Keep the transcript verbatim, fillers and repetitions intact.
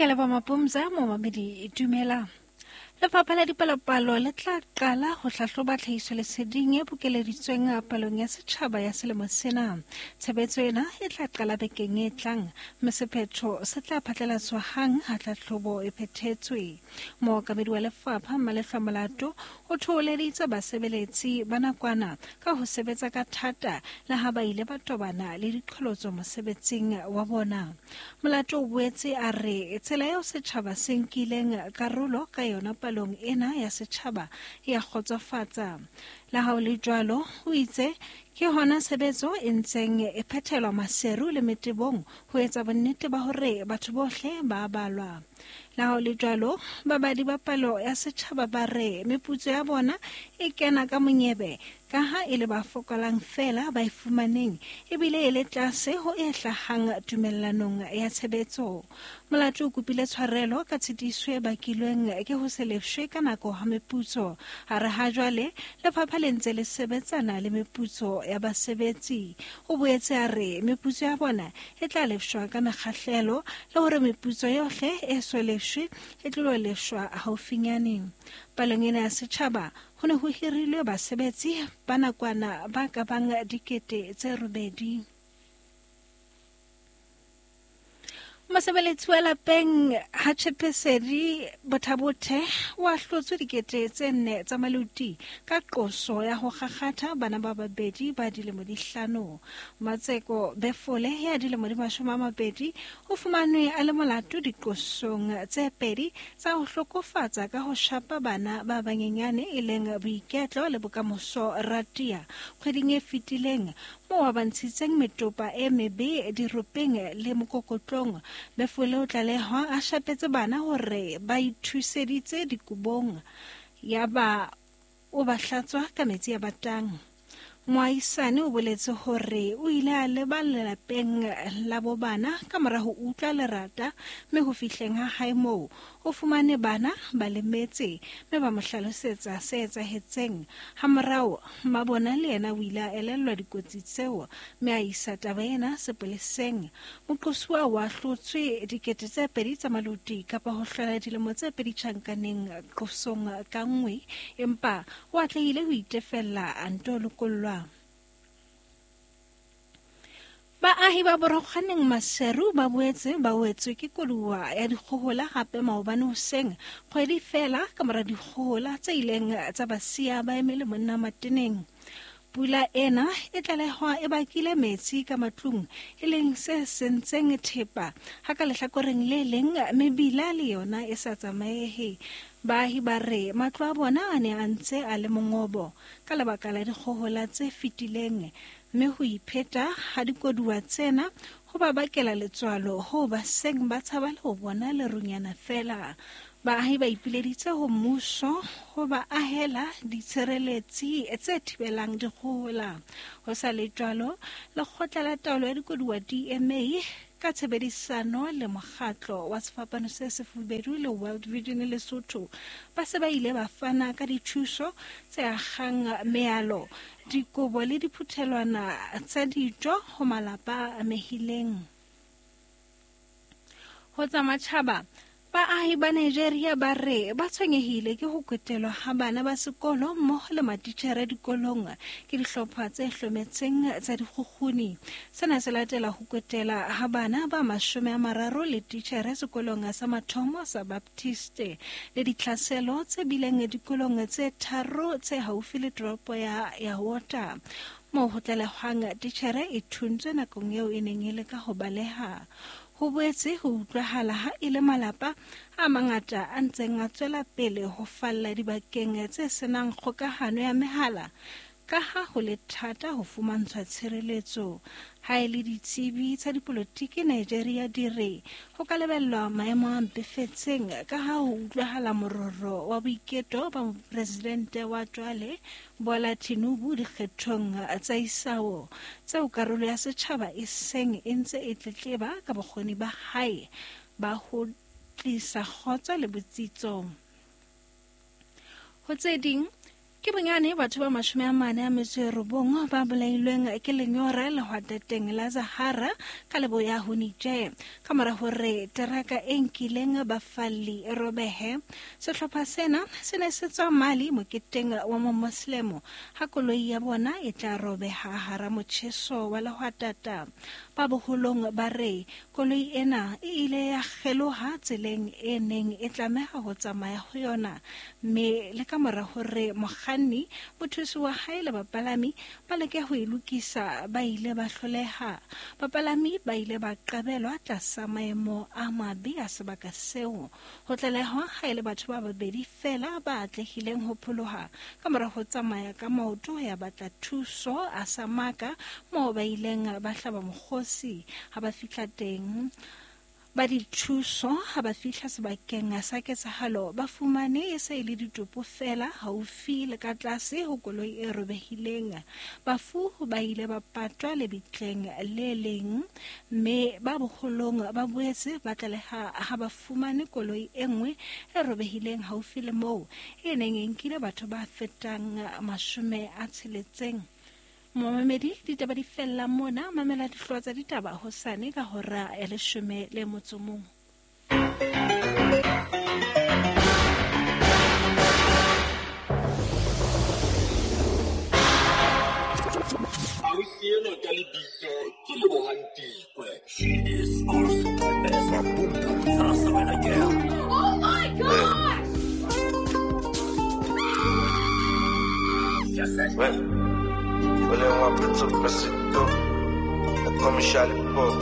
Ke leboha Mapumza, momamedi dumela. Lefapha la Dipalopalo le tla qala ho hlahloba tlhahisoleseding e bokeleditsweng palong ya setjhaba ya selemo sena. Tshebetso ena e tla qala bekeng e tlang, mme sephetho se tla phatlalatswa hang ha tlhahlobo e phethetswe. Mookamedi wa lefapha Malehlwa Molato o thoholeditse basebeletsi ba nakwana ka ho sebetsa ka thata le ha ba ile ba tobana le diqholotso mosebetsing wa bona. Molato o boetse a re tsela eo setjhaba se nkileng karolo ka yona palong ena ya setjhaba ya kgotsofatsa. Le ha ho le jwalo, o itse ke hona tshebetso e ntseng e phethelwa Maseru le Metebong ho etsa bonnete ba hore batho bohle ba balwa. Le ha ho le jwalo, babadi ba palo ya setjhaba ba re meputso ya bona e kena ka monyebe ka ha e le ba fokolang feela ba e fumaneng ebile e le tlase ho e hlahang tumellanong ya tshebetso. Molato o kopile tshwarelo ka tshitiso e bakilweng ke ho se lefshwe ka nako ha meputso. A re ha jwale lefapha le ntse le sebetsana le meputso ya basebetsi. O boetse a re meputso ya bona e tla lefshwa ka mekgahlelo le hore meputso yohle e so lefshwe e tlo lefshwa haufinyane. Palong ena ya setjhaba ho ne ho hirilwe basebetsi ba nakwana ba ka bang dikete tse robedi. Mosebeletsi wa lapeng ha Tshepesedi Bothabothe o ahlotswe dikete tse nne tsa maluti ka qoso ya ho kgakgatha bana ba babedi ba dilemo di hlano. Matseko Befole ya dilemo di mashome a mabedi o fumanwe a le molato diqosong tse pedi tsa ho hlokofatsa ka ho shapa bana ba banyenyane e leng Boiketlo le Bokamoso Ratia kgweding e fetileng moo ba ntshitseng metopa e mebe diropeng le mokokotlong. Befole o tlalehwa a shapetse bana hore ba ithuseditse dikobong yaba o ba hlatswa ka metsi a batang. Moahisane o boletse hore o ile a leba lelapeng la bo bana ka mora ho utlwa lerata, mme ho fihleng ha hae moo o fumane bana ba lemetse mme ba mo hlalosetsa se etsahetseng. Hamorao mmabona le yena o ile a elellwa dikotsi tseo mme a isa taba ena sepoleseng. Moqosuwa o ahlotswe dikete tse pedi tsa maluti kapa ho hlola dilemo tse pedi tjhankaneng qosong ka nngwe, empa o atlehile ho itefella a nto lokollwa. Baahi ba Borokganeng Maseru ba boetse ba wetswe ke koduwa ya dikgohola hape maobane hoseng, kgwedi feela ka mora dikgohola tse ileng tsa ba siya ba eme le monna mateneng. Pula ena e tlalehwa e bakile metsi ka matlung, e leng se sentseng thepa ha ka lehlakoreng le leng mebila le yona e sa tsamaehe. Baahi ba re matlo a bona a ne a ntse a le mongobo ka lebaka la dikgohola tse fetileng, mme ho ipheta ha dikoduwa tsena ho ba bakela letswalo ho ba seng ba tshaba le ho bona lerunyana feela. Baahi ba ipileditse ho mmuso ho ba ahela ditshireletsi tse thibelang dikgohola. Ho sa le jwalo, lekgotla la taolo ya dikoduwa D M A ka tshebedisano le mokgatlo wa Sefapano se Sefubedu le World Vision Lesotho ba se ba ile ba fana ka dithuso tse akgang mealo, dikobo le diphuthelwana tsa dijo ho malapa a amehileng. Ho tsa matjhaba, baahi ba Nigeria ba re ba tshwenyehile ke ho kwetelwa ha bana ba sekolo mmoho le matitjhere dikolong ke dihlopha tse hlometseng tsa dikgukguni. Sena se latela ho kwetela ha bana ba mashome a mararo le titjhere sekolong sa mathomo sa Baptiste le ditlhaselo tse bileng dikolong tse tharo tse haufi le toropo ya Yawota, moo ho tlalehwang titjhere e thuntswe nakong eo e neng e leka ho baleha. Ho boetse ho utlwahala ha e le malapa a mangata a ntseng a tswela pele ho falla dibakeng tse senang kgokahano ya mehala ka ha ho le thata ho fumantshwa tshireletso. Ha e le ditsebi tsa dipolotiki Nigeria di re ho ka lebellwa maemo a mpefetseng ka ha ho utlwahala mororo wa boiketo ba mopresidente wa jwale Bola Tinubu dikgethong tsa isao tseo karolo ya setjhaba e seng e ntse e tletleba ka bokgoni ba hae ba ho tlisa kgotso le botsitso. Ho tse ding, Ke bonyane batho ba mashome a mane a metso e robong ba bolailweng ke lenyora lehwatateng la Sahara ka leboya ho Niger. Ka mora hore teraka e nkileng bafalli e robehe, sehlopha sena se ne se tswa Mali moketeng wa Momoslemo ha koloi ya bona e tla robeha hara motjheso wa lehwatata. Ba boholong ba re koloi ena e ile ya kgeloha tseleng e neng e tlameha ho tsamaya ho yona, mme le ka mora hore mokganni, mothusi wa hae le bapalami ba leke ho e lokisa, ba ile ba hloleha. Bapalami ba ile ba qabelwa tlasa maemo a mabe a sebaka seo. Ho tlalehwa ha e le batho ba babedi feela ba atlehileng ho pholoha ka mora ho tsamaya ka maoto ho ya batla thuso a Samaka, moo ba ileng ba hlaba mokgosi ha ba fihla teng. Ba dithuso ha ba fihla sebakeng sa ketsahalo ba fumane e se e le ditopo feela haufi le ka tlase ho koloi e robehileng. Bafu ba ile ba patwa lebitleng le leng, mme ba boholong ba boetse ba tlaleha ha ba fumane koloi e nngwe e robehileng haufi le moo e neng e nkile batho ba fetang mashome a tsheletseng. Momamedi, ditaba di fella mona. Mamela dihlooho tsa ditaba hosane ka hora ya leshome le motso mong. Ausi enwa ka lebitso ke Lebohang Tikwe. She is also known as Mabunda Tsasa girl. Oh my gosh! Yes, yes. Well, I want to press it up. Come, Charlie Pop.